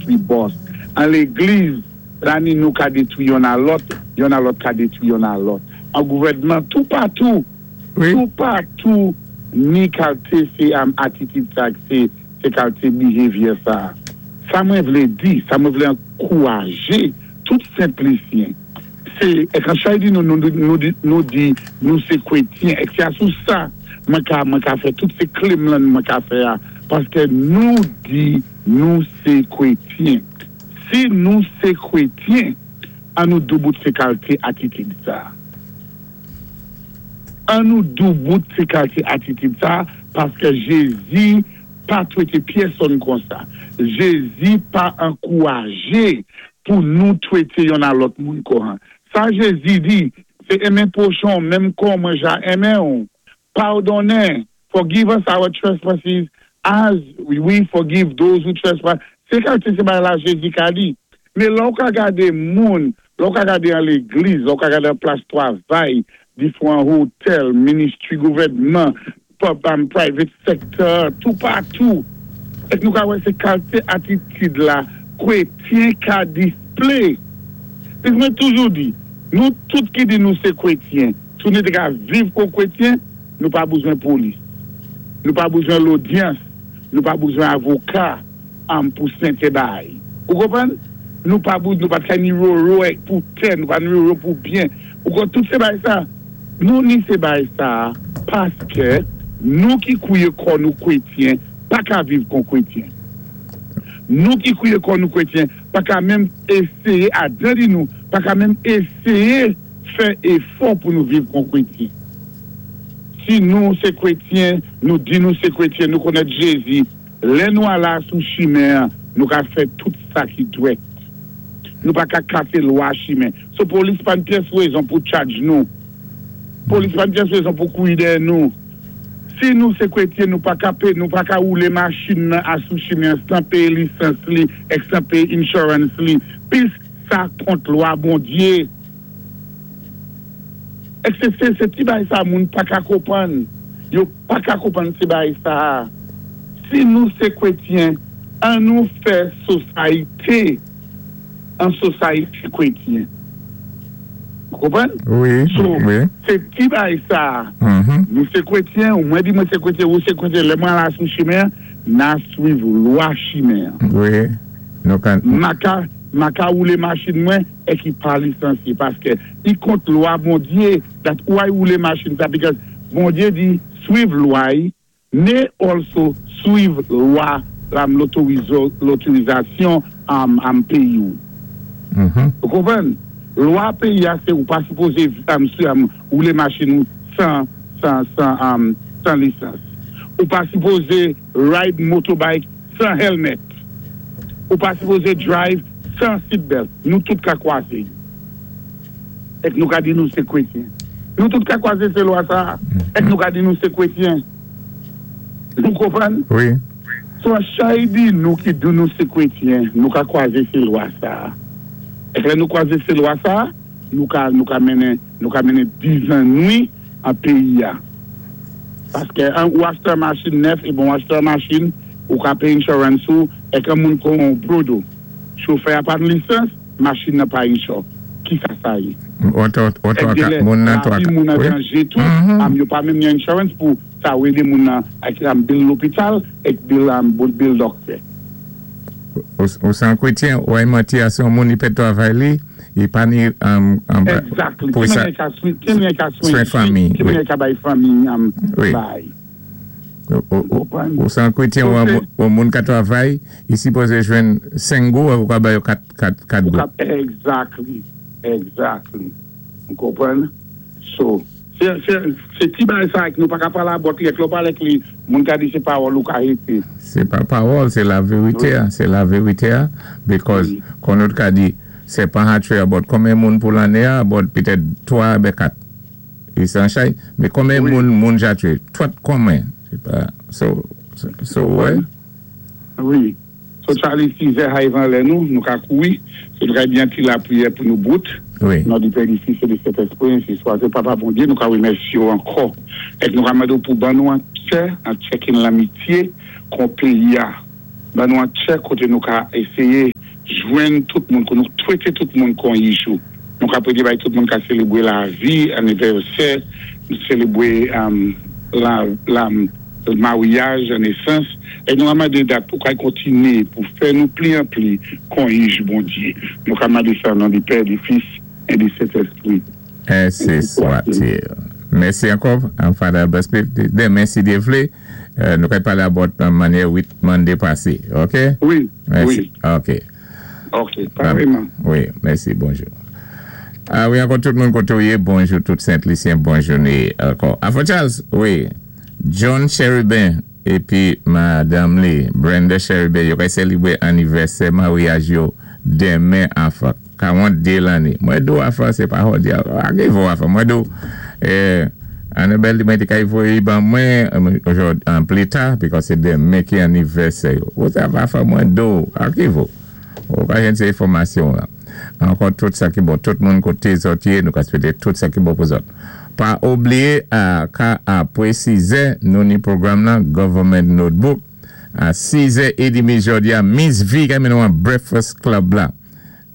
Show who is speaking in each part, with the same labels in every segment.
Speaker 1: detwi bòs. An légliz, la ni nou ka detwi yonn a lòt, yonn a lòt ka detwi yonn a lòt. An gouvèdman, toupatou, toupatou ni kalté sé atitid sa k sé sé kalté behavior sa. Sa mwen vlé di, sa mwen vlé ankourajé tout Senplisyen, sé èk an chay di nou nou di nou di nou sé kwétyen èk sé asou sa mwen ka mwen ka fè tout sé claim lan mwen ka fè a paskè nou di nou sé kwétyen. Si nou sé kwétyen an nou doubout sé kalté atitid sa. An nou doubout sé kalté atitid sa paskè Jézi pa twété pyèsonn konsa. Jézi pa ankourajé pou nou twété yonn a lòt moun konha. Sa Jézi di, sé enmen pwochen w menm kon mwen ja enmen w. Padonnen, Forgive us our trespasses as we forgive those who trespass. Se kalite se bagay la Jezi ka di. Men lè w ka gade moun, lè w ka gade an legliz, lè w ka gade an plas twavay, difwan hotèl, ministry gouvènman, pub and private sector, toupatou, èk nou ka wè se kalte atitid la kwetyen ka display. Pis mwen toujou di, nou tout ki di nou se kwetyen, Si nou te ka viv kon kwetyen, nou pa bouzwen polis, nou pa bouzwen lodyans, nou pa bouzwen avoka pou sente bay. Ou konprann? Nou pa bou, nou pat ka ni roro pou tè, nou pa ni roro pou byen. Ou konprann? Tout se bay sa. Nou ni se bay sa paske nou ki kouye kò nou kwetyen pa ka viv kon kwetyen. Nou ki kouye kò nou kwetyen pa ka menm eseye adan di nou, pa ka menm eseye. Fè efò pou nou viv kon kwetyen. Si nou se kwetyen, nou di nou se kwetyen, nou konèt Jezi, lè nou ala sou chimen an, nou ka fè tout sa ki dwèt. Nou pa ka kase lwa chimen. So polis pa n pyès rezon pou tchadj nou. Polis pa n pyès rezon pou kouri dèyè nou. Si nou se kwetyen, nou pa ka pe, nou pa ka woule machin nan a sou chimen an san peye lisans li ek san peye insurance li. Pis sa kont lwa Bondye. Èske se se ti bagay sa moun paka konprann? Yo paka konprann ti bagay sa a. Si nou se kwetyen, an nou fè sosayte an sosayte kwetyen. Ou konprann?
Speaker 2: Wi,
Speaker 1: So,
Speaker 2: wi.
Speaker 1: se ti bagay sa a. Nou se kwetyen, ou mwen di mwen se kwetyen, ou se kwetyen, lè mwen al a sou chimen an, na swiv lwa chimen an.
Speaker 2: Wi, nou ka.
Speaker 1: Maka, maka woule machin mwen. E ki pa lisansye paske i kont lwa Bondye dat ou ay woule machin sa because Bondye di swiv lwa y me also swiv lwa lam lotorizasyon am am peyi w ou konprann lwa peyi a se ou pa sipoze am am woule machin ou 100 am 100 lisans ou pa sipoze ride motorbike 100 helmet. Ou pa sipoze drive 100 seatbelt. Nou tout ka kwaze. Èk nou ka di nou se kwetyen. Nou tout ka kwaze se lwa sa a. Èk nou ka di nou se kwetyen. Nou konprann?
Speaker 2: Wi.
Speaker 1: So chay di nou ki di nou se kwetyen, nou ka kwaze se lwa sa a. Èk lè nou kwaze se lwa sa a, nou ka nou ka mennen nou ka mennen dizannwi an peyi a. Paske an ou achte an machin nèf e bon ou achte an machin ou ka peye insurance ou e kan moun kon ou brodo chofè a pa n lisans machin nan pa insure kisa sa ye? Èk genlè lavi moun an danje tou am yo pa menm gen insurance pou sa ou ede moun nan ak am bill lopital ek bill am bill dòktè.
Speaker 2: Ou san kretyen ou ay manti a se yon moun li pèd travay li li pa ni
Speaker 1: Exactly ki mannyè ka ki mannyè ka
Speaker 2: swen fanmi
Speaker 1: ki mannyè ka bay fanmi am bay
Speaker 2: ou konprann Ou san kretyen ou moun ka travay li sipoze jwenn 5 gou ou ka ba yo 4 gou.
Speaker 1: Exactly exactly ou konprann so. Se ti bagay sa ak nou paka pale abòt li ak lè w pale ak li moun ka di se pawòl ou ka hete.
Speaker 2: Se pa pawòl se la verite a se la verite a because kon nou t ka di sèpan ha tue abòt konbyen moun pou lane a abòt petèt 3 oubyen 4 e san chay men konbyen moun moun ja tue twòt konbyen se pa so so wè.
Speaker 1: Wi. So Charly sizè hay van lè nou, nou ka kouri, so nou ka byen ti lapriyè pou nou bout.
Speaker 2: Wi.
Speaker 1: Non di Pè di Fis e di Sentespri ensi swate Papa Bondye nou ka remèsye w ankò et nou ka mande w pou ban nou an kè an tchèkin lanmitye kon peyi a. Ban nou an tchè koté nou ka éséyé jwenn tout moun, kou nou twété tout moun kon yijou. Nou ka pwédé bay tout moun ka sélébwé lavi, anivèsè, sélébwé la la maryaj, nesans, é nou ka mandé dat pou kay kontiné pou fè nou pli an pli kon jij Bondyé. Nou ka mandé sa o non di Pè, di Fis é di Sentéspri.
Speaker 2: Ensi swa-t-il. Mèsi ankò, Father Albert Smith. Denmen, si Dye vlé, nou kay palé about mannyè 8 Monday pasé. OK?
Speaker 1: Wi,
Speaker 2: Mèsi.
Speaker 1: Wi.
Speaker 2: OK.
Speaker 1: OK, pareman.
Speaker 2: Wi, mèsi. Bonjou. A wi, ankò tout moun koté ou yé, bonjou tout Sent Lisyen, bon jouné ankò. Afro Charles, wi. John Cherubin épi madanm li, Brenda Cherubin, yo kay sélébwé anivèsè maryaj yo denmen afa 42 lanné. Mwen di-w afa sé pa hòdi a ki vo afa. Mwen di-w Annabelle di mwen té kay voyé ban mwen ojòdi an pli ta because sé denmen ki anivèsè yo. Ou sa afa mwen di-w a ki vo. Ou ka jwenn sé enfòmasyon an. Ankò tout sa ki bon. Tout moun koté zòt yé nou ka swété tout sa ki bon pou zòt. Pa oubliyé a ka apwé 6 zè nou ni pwogram lan Government Notebook a 6 zè edimi jòdi a Miss V kay mennen w an Breakfast Club la.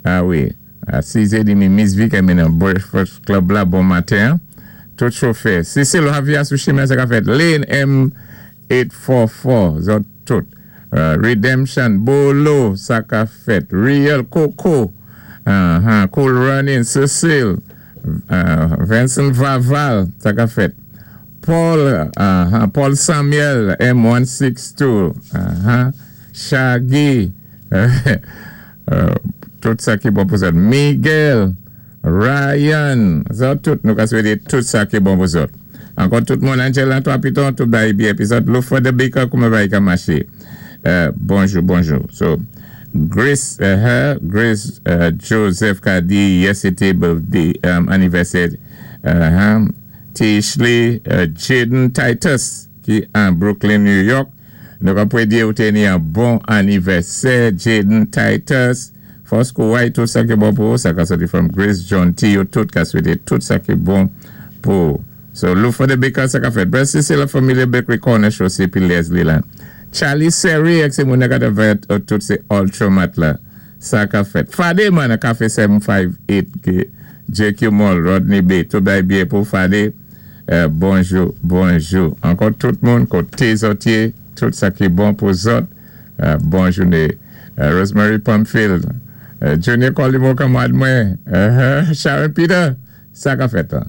Speaker 2: A wi, a 6 zè edimi Miss V kay mennen w Breakfast Club la bon maten an. Tout chofè. Cecil Javier sou chimen sa ka fèt. Lane M 844 zòt tout. Redemption, Bolo sa ka fèt. Real Coco, Cool Running, Cecil, Vincent Vaval sa ka fèt. Paul, Paul Samuel M162, Shaggy, tout sa ki bon pou zòt. Miguel, Ryan, zòt tout nou ka swété tout sa ki bon pou zòt. Ankò tout moun Angela 3 Piton, tout bagay byen épi zòt Lufa the Baker kouman bagay ka maché. Bonjou bonjou. So Grace Grace Joseph ka di yè sé té birthday anivèsè Tishley Jaden Titus ki an Brooklyn New York. Nou ka pwédé ou té ni an bon anivèsè Jaden Titus. Fòs kouray tout sa ki bon pou ou sa ka soti from Grace John T yo tout ka swete tout sa ki bon pou ou. So Lufa the Baker sa ka fèt. Brèf se la Familia Bakery Corner Chaussée pi Leslie la. Charlie Serry ak se moun nan ka ta fèt tout se Ultramat la. Sa ka fèt. Fade man nan Cafe 758 ke JQ Mall Rodney Bay tout bagay byen pou Fade. Bonjou bonjou ankò tout moun koté zòt yé tout sa ki bon pou zòt. Bon jouné Rosemary Pamphile Junior Colimo kanmwad mwen Sharon Peter sa ka fèt lan.